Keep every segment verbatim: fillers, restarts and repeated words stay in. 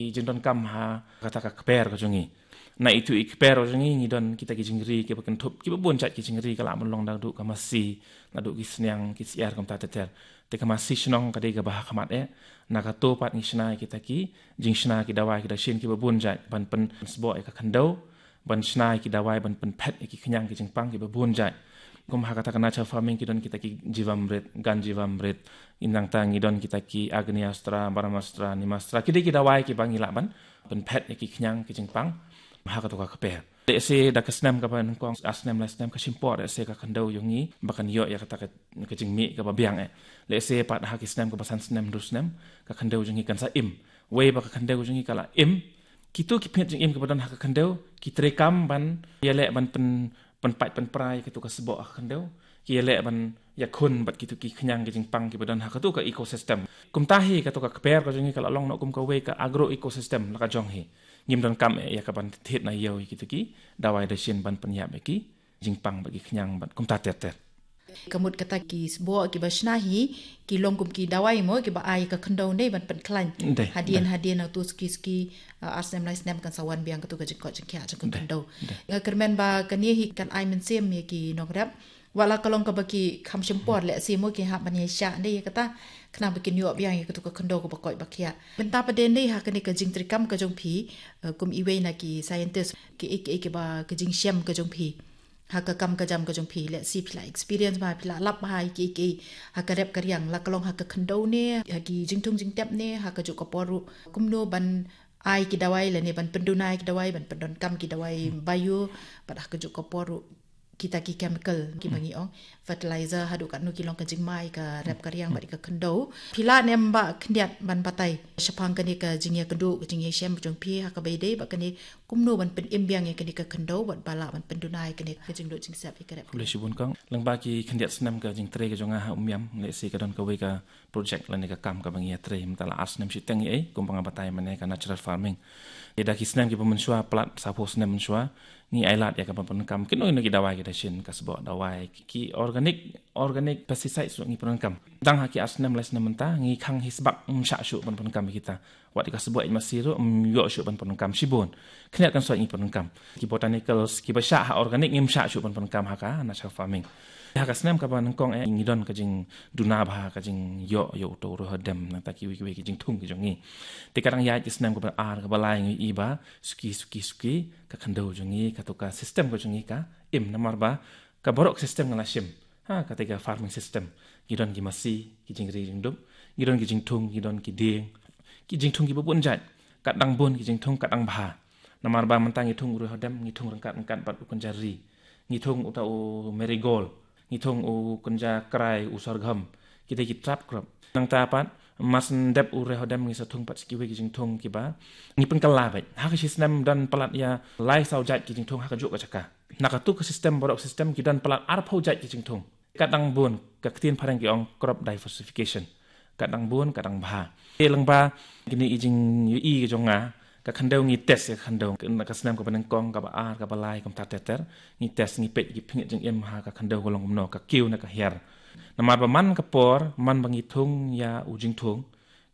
i jingdonkam ha kata ka kper ka jong ngi. Na itu i kper ka jong ngi ngi don kita ki jingri kiba kynthup, kiba bun jait ki jingri, ka lah ban long naduh ka masi, naduh ki sniang, ki syiar kumta ter ter. Te ka masi shnong ka dei kaba ha khmat eh. Na kato pat ngi shna ïa kita ki jingshna ki dawai ki dashin kiba bun jait ban pynsboh ïa ka khyndew, ban shna ïa ki dawai ban pynphet ïa ki khñiang ki jingpang kiba bun jait. Kum ha kata ka natural farming ki don kita ki Jivamrit, Ganjivamrit, nangta ngi don kita ki Agni Astra, Brahmastra, Nimastra, ki dei ki dawai kiba ngi lah ban pynphet ïa ki khñiang ki jingpang ha kato ka kper. Lehse da ka snem kaba nyngkong, ar snem lai snem, ka shim por lehse ka khyndew jong ngi ba kan ïoh ïa kata ka, ka jingmih kaba biang eh. Lehse pat ha ki snem kaba san snem, hynriew snem, ka khyndew jong ngi kan sa im. Wei ba ka khyndew jong ngi ka la im, kito ki phniat jingim kiba don ha ka khyndew ki treikam ban ïaleh ban pyn, pynpait pynpra ïa kito ka sboh ha ka khyndew, ki ïaleh ban ïakhun bad kito ki khñiang ki jingpang kiba don ha kato ka ecosystem. Kumta hi kato ka kper ka jong ngi ka la long noh kum kawei ka agro ecosystem la ka jong hi. Ngim donkam eh ïa ka ban thied na ïew ïa kito ki dawai dashin ban pynïap ïa ki jingpang bad ki khñiang bad kumta ter ter. Ka mut kata ki sboh kiba shna hi ki long kum ki dawai mo kiba ai ka khyndew ne ban pynkhlaiñ. Dei, hadien dei. Hadien na tu suki suki, uh, ar snem lai snem kan sa wan biang katu ka jingkoit jingkhiah jong ka khyndew. Dei. Nga kyrmen ba kane hi kan ai mynsiem ïa ki nongrep. Wat la ka long kaba ki kham shim por lehse mo ki hap ban ïa shah ne ïa kata, khnang ba kin ïoh biang ïa katu ka khyndew kaba koit ba khiah. Mynta pat dei ne ha kane ka jingtreikam ka jong phi, uh, kum iwei na ki scientist, kiei kiei kiba ka jingshem ka jong phi ha ka kam ka jam ka jong phi, lehse phi la experience bha, phi la lap bha ïa kiei kiei ha ka rep ka riang, la ka long ha ka khyndew ne, ha ki jingthung jingtep ne, ha kajuh ka por ruh kumno ban ai ki dawai lane ban pynduna ïa ki dawai, ban pyndonkam ki dawai bio, bad ha kajuh ka por ruh kita ki chemical kiba ngi ong fertilizer, haduh katno ki long ka jingma ïa ka rep ka riang bad ïa ka khyndew. Phi lah ne em ba khyndiat ban batai shaphang kane ka jingïakynduh, ka jingïashem jong phi ha kaba ïadei bad kane, kumno ban pynim biang ïa kane ka khyndew bad ba lah ban pynduna ïa kane ka jingduh jingsep ïa ka rep? Khublei shibun kong. Lyngba ki khyndiat snem ka jingtrei ka jong nga ha Umiam, lehse ka don kawei ka project lane ka kam kaba ngi ïatrei mynta la ar snem shiteng ïa ei, kumba nga batai mynne, ka natural farming. Ïa da ki snem kiba mynshuwa, palat saphew snem mynshuwa, ngi ailad ïa ka ban pyndonkam kino kino ki dawai ki dashin, ka sboh dawai, ki, ki organic, organic pesticides ruh ngi pyndonkam. Tang ha ki ar snem lai snem mynta ngi khang hi sbak, ngim shah shuh ban pyndonkam ïa kita. Wat ïa ka sboh ïa masi ruh ngim ïoh shuh ban pyndonkam shibun. Khyndiat kan shuh ngi pyndonkam. Ki botanicals kiba shah ha organic ngim shah shuh ban pyndonkam ha ka natural farming. Ha ka snem kaba nyngkong eh ngi don ka jingduna bha, ka jingïoh ïa uto u riewhadem, nangta kiwei kiwei ki jingthung ki jong ngi. Te ka dang ïaid ki snem kaba ar kaba lai ngi i ba suki suki suki ka khyndew jong ngi, kato ka system ka jong ngi ka im, namar ba ka baroh ka system nga la shim ha kata ka farming system. Ngi don ki masi, ki jingri jingdup, ngi don ki jingthung, ngi don ki dieng, ki jingthung kiba bun jait. Kat dang bun ki jingthung, kat dang bha. Namar ba mynta ngi thung u riewhadem, ngi thung ryngkat ryngkat bad u kynja ri. Ngi thung uta u marigold, ngi thung u kynja krai, u sorghum. Ki dei ki trap crop. Nangta pat mar syn dep u riewhadem ngi sa thung pat sa kiwei ki jingthung kiba ngi pynkylla beit. Ha ka shi snem don palat ïa lai saw jait ki jingthung ha kajuh ka jaka. Na katu ka system, baroh ka system, ki don palat arphew jait ki jingthung. Kat dang bun, ka ktien phareng ki ong crop diversification. Kat dang bun, kat dang bha. Te lyngba kine i jingïohi ka jong nga, ka khyndew ngi test ïa ka khyndew. Na ka snem kaba nyngkong, kaba ar, kaba lai, kumta ter ter. Ngi test, ngi peit ki phniat jingim ha ka khyndew ka long kumno, ka kiew ne ka hiar. Namar ba man ka por, man ba ngi thung ïa u jingthung,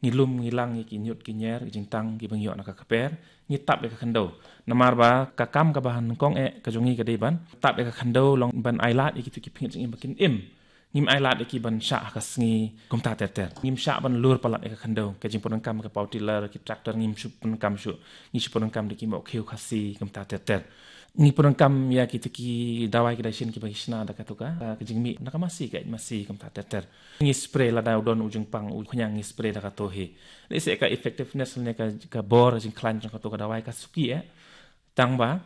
ngi lum ngi lang ïa ki ñiut ki ñier, ki jingtang kiba ngi ïoh na ka kper, ngi tap ïa ka khyndew. Namar ba ka kam kaba nyngkong eh ka jong ngi ka dei ban tap ïa ka khyndew, long ban ailad ïa kitu ki phniat jingim ba kin im. Ngim ailad ïa ki ban shah ha ka sngi kumta ter ter. Ngim shah ban lur palat ïa ka khyndew. Ka jingpyndonkam ka power tiller, ki tractor, ngim shu pyndonkam shuh. Ngi shu pyndonkam da ki mohkhiew khasi kumta ter ter. Ngi pyndonkam ïa kitu ki dawai ki dashin kiba ngi shna da katu ka, ka jingmih na ka masi, ka eit masi kumta ter ter. Ngi spray lada u don u jingpang u khñiang, ngi spray da kato hi. Lehse ka effectiveness ne ka, ka bor jingkhlaiñ jong kato ka dawai ka suki eh. Tang ba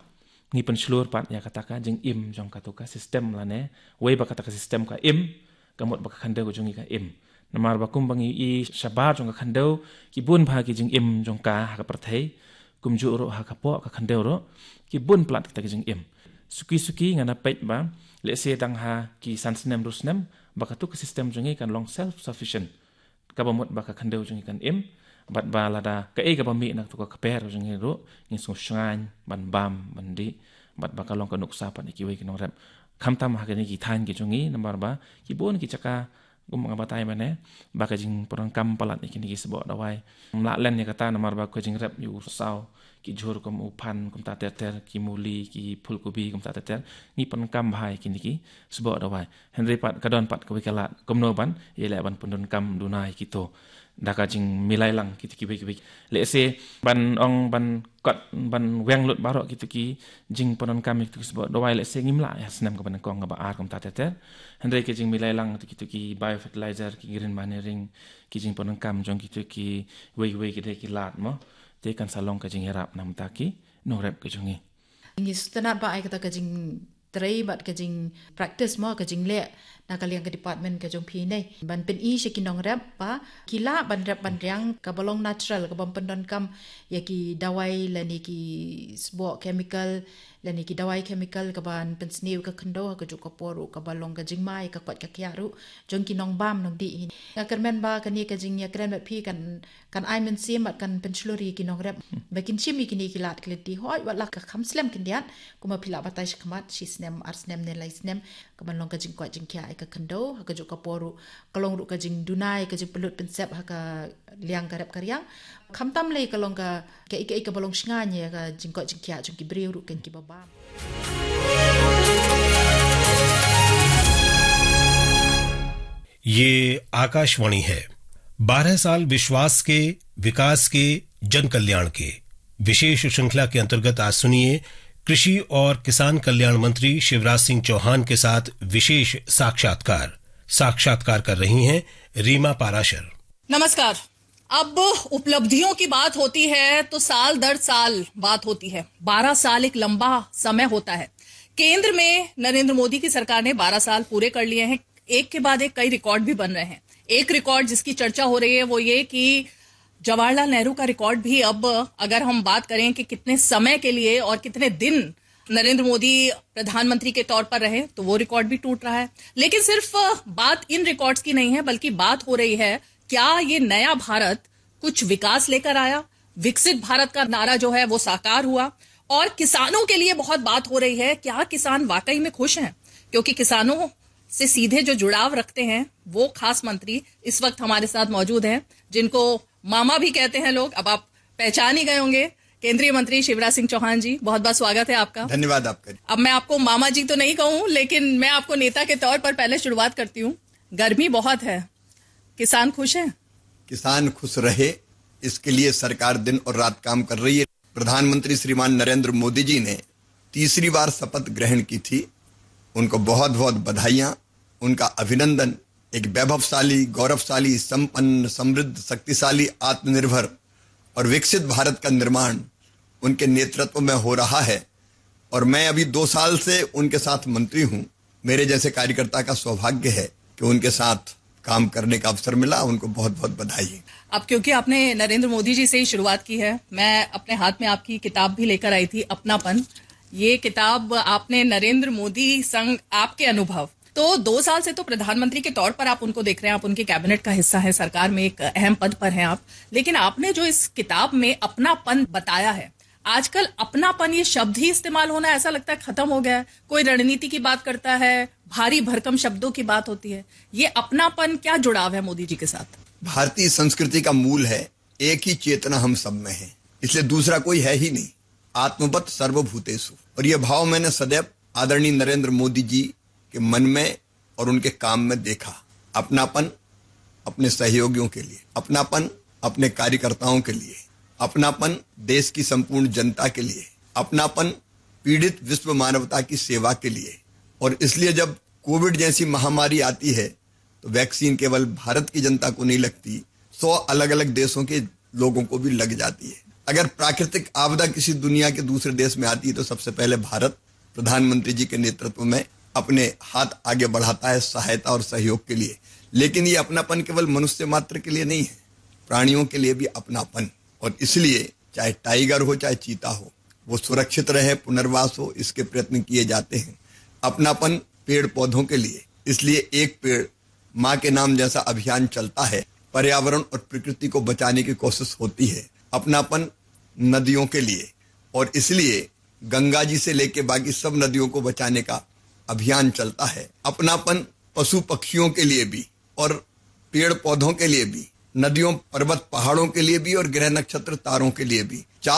ngi pynshlur pat ïa kata ka jingim jong kato ka system lane, wei ba kata ka system ka im, ka mut ba ka khyndew ka jong ngi ka im. Namar ba kumba ngi i shabar jong ka khyndew, ki bun bha ki jingim jong ka ha ka pyrthei, kumjuh ruh ha ka poh ka khyndew ruh, ki bun palat kita ki jingim. Suki suki nga na peit ba, lehse dang ha ki san snem, hynriew snem, ba katu ka system jong ngi kan long self sufficient. Kaba mut ba ka khyndew jong ngi kan im, bad ba lada kaei kaba mih na katu ka kper jong ngi ruh, ngin sngewshngaiñ ban bam, ban dih, bad ba ka long ka nuksa pat ïa kiwei ki nongrep. Khamtam ha kine ki thaiñ ki jong ngi, namar ba ki bun ki jaka Kum nga batai mynne ba ka jingpyndonkam palat ïa kine ki sboh dawai, ym lah len ïa kata namar ba ka jingrep ïa u saw, ki jhur kum u phan kumta ter ter, ki muli, ki phulkubi kumta ter ter, ngi pyndonkam bha ïa kine ki sboh dawai. Hynrei pat ka don pat kawei ka lad, kumno ban ïaleh ban pyndonkam duna ïa kito da ka jingmilai lang kito kiwei kiwei. Lehse ban ong ban kot ban weng lut baroh kito ki jingpyndonkam ïa kito ki sboh dawai, lehse ngim lah ïa snem kaba nyngkong kaba ar kumta ter ter. Hynrei ka jingmilai lang kito ki biofertilizer, ki green manuring, ki jingpyndonkam jong kito kiwei kiwei ki dei ki lad mo, te kan sa long ka jingïarap na bynta ki nongrep ka jong ngi. Ngi sngewtynnat ba ai kata ka jingtrei bad ka jingpractice mo, ka jingleh na ka liang ka department ka jong phi ne, ban pyni sha ki nongrep ba ki lah ban rep ban riang kaba long natural, kaba ym pyndonkam ïa ki dawai lane ki sboh chemical lane ki dawai chemical kaban pynsniew ïa ka khyndew, ha kajuh ka por ruh kaba long ka jingma ïa ka koit ka khiah ruh jong ki nongbam nongdih hi. Nga kyrmen ba kane ka jingïakren bad phi kan kan ai mynsiem bad kan pynshlur ïa ki nongrep ba kin shim ïa kine ki lad ki lynti, hooid wat la ka kham slem khyndiat, kumba phi la batai shakhmat, shi snem, ar snem ne lai snem, kaban long ka jingkoit jingkhiah ïa ka khyndew, ha kajuh ka por ruh ka long ruh ka jingduna ïa ka jingpynlut pynsep ha ka liang ka rep ka riang. Khamtam lei ka long ka, ka, ka, kaba long shngain ïa ka jingkoit jingkhiah jong ki briew ruh, kan kiba bam. ये आकाशवाणी है। बारह साल विश्वास के, विकास के, जन कल्याण के विशेष श्रृंखला के अंतर्गत आज सुनिए कृषि और किसान कल्याण मंत्री शिवराज सिंह चौहान के साथ विशेष साक्षात्कार। साक्षात्कार कर रही हैं रीमा पाराशर। नमस्कार। अब उपलब्धियों की बात होती है तो साल दर साल बात होती है। बारह साल एक लंबा समय होता है। केंद्र में नरेंद्र मोदी की सरकार ने बारह साल पूरे कर लिए हैं। एक के बाद एक कई रिकॉर्ड भी बन रहे हैं। एक रिकॉर्ड जिसकी चर्चा हो रही है वो ये कि जवाहरलाल नेहरू का रिकॉर्ड भी, अब अगर हम बात करें कि कितने समय के लिए और कितने दिन नरेंद्र मोदी प्रधानमंत्री के तौर पर रहे, तो वो रिकॉर्ड भी टूट रहा है। लेकिन सिर्फ बात इन रिकॉर्ड्स की नहीं है, बल्कि बात हो रही है क्या ये नया भारत कुछ विकास लेकर आया, विकसित भारत का नारा जो है वो साकार हुआ। और किसानों के लिए बहुत बात हो रही है, क्या किसान वाकई में खुश हैं, क्योंकि किसानों से सीधे जो जुड़ाव रखते हैं वो खास मंत्री इस वक्त हमारे साथ मौजूद हैं, जिनको मामा भी कहते हैं लोग। अब आप पहचान ही गए होंगे, केंद्रीय मंत्री शिवराज सिंह चौहान जी, बहुत बहुत स्वागत है आपका। धन्यवाद आपका। अब मैं आपको मामा जी तो नहीं कहूँ, लेकिन मैं आपको नेता के तौर पर पहले शुरुआत करती हूँ। गर्मी बहुत है, किसान खुश हैं? किसान खुश रहे, इसके लिए सरकार दिन और रात काम कर रही है। प्रधानमंत्री श्रीमान नरेंद्र मोदी जी ने तीसरी बार शपथ ग्रहण की थी। उनको बहुत बहुत बधाइयां, उनका अभिनंदन। एक वैभवशाली, गौरवशाली, संपन्न, समृद्ध, शक्तिशाली, आत्मनिर्भर और विकसित भारत का निर्माण उनके नेतृत्व में हो रहा है। और मैं अभी दो साल से उनके साथ मंत्री हूँ। मेरे जैसे कार्यकर्ता का सौभाग्य है कि उनके साथ काम करने का अवसर मिला। उनको बहुत बहुत बधाई। अब क्योंकि आपने नरेंद्र मोदी जी से ही शुरुआत की है, मैं अपने हाथ में आपकी किताब भी लेकर आई थी, अपनापन। ये किताब आपने नरेंद्र मोदी संग आपके अनुभव, तो दो साल से तो प्रधानमंत्री के तौर पर आप उनको देख रहे हैं, आप उनके कैबिनेट का हिस्सा हैं, सरकार में एक अहम पद पर हैं आप, लेकिन आपने जो इस किताब में अपनापन बताया है, आजकल अपनापन ये शब्द ही इस्तेमाल होना ऐसा लगता है खत्म हो गया है। कोई रणनीति की बात करता है, भारी भरकम शब्दों की बात होती है। ये अपनापन क्या जुड़ाव है मोदी जी के साथ? भारतीय संस्कृति का मूल है, एक ही चेतना हम सब में है, इसलिए दूसरा कोई है ही नहीं। आत्मवत सर्वभूतेषु। और यह भाव मैंने सदैव आदरणीय नरेंद्र मोदी जी के मन में और उनके काम में देखा। अपनापन अपने सहयोगियों के लिए, अपनापन अपने कार्यकर्ताओं के लिए, अपनापन देश की संपूर्ण जनता के लिए, अपनापन पीड़ित विश्व मानवता की सेवा के लिए। और इसलिए जब कोविड जैसी महामारी आती है तो वैक्सीन केवल भारत की जनता को नहीं लगती, सौ अलग अलग देशों के लोगों को भी लग जाती है। अगर प्राकृतिक आपदा किसी दुनिया के दूसरे देश में आती है तो सबसे पहले भारत प्रधानमंत्री जी के नेतृत्व में अपने हाथ आगे बढ़ाता है सहायता और सहयोग के लिए। लेकिन ये अपनापन केवल मनुष्य मात्र के लिए नहीं है, प्राणियों के लिए भी अपनापन। और इसलिए चाहे टाइगर हो चाहे चीता हो, वो सुरक्षित रहे, पुनर्वास हो, इसके प्रयत्न किए जाते हैं। अपनापन पेड़ पौधों के लिए, इसलिए एक पेड़ माँ के नाम जैसा अभियान चलता है। पर्यावरण और प्रकृति को बचाने की कोशिश होती है। अपनापन नदियों के लिए, और इसलिए गंगा जी से लेके बाकी सब नदियों को बचाने का अभियान चलता है। अपनापन पशु पक्षियों के लिए भी, और पेड़ पौधों के लिए भी, नदियों पर्वत पहाड़ों के लिए भी और ग्रह नक्षत्र तारों के लिए भी। चार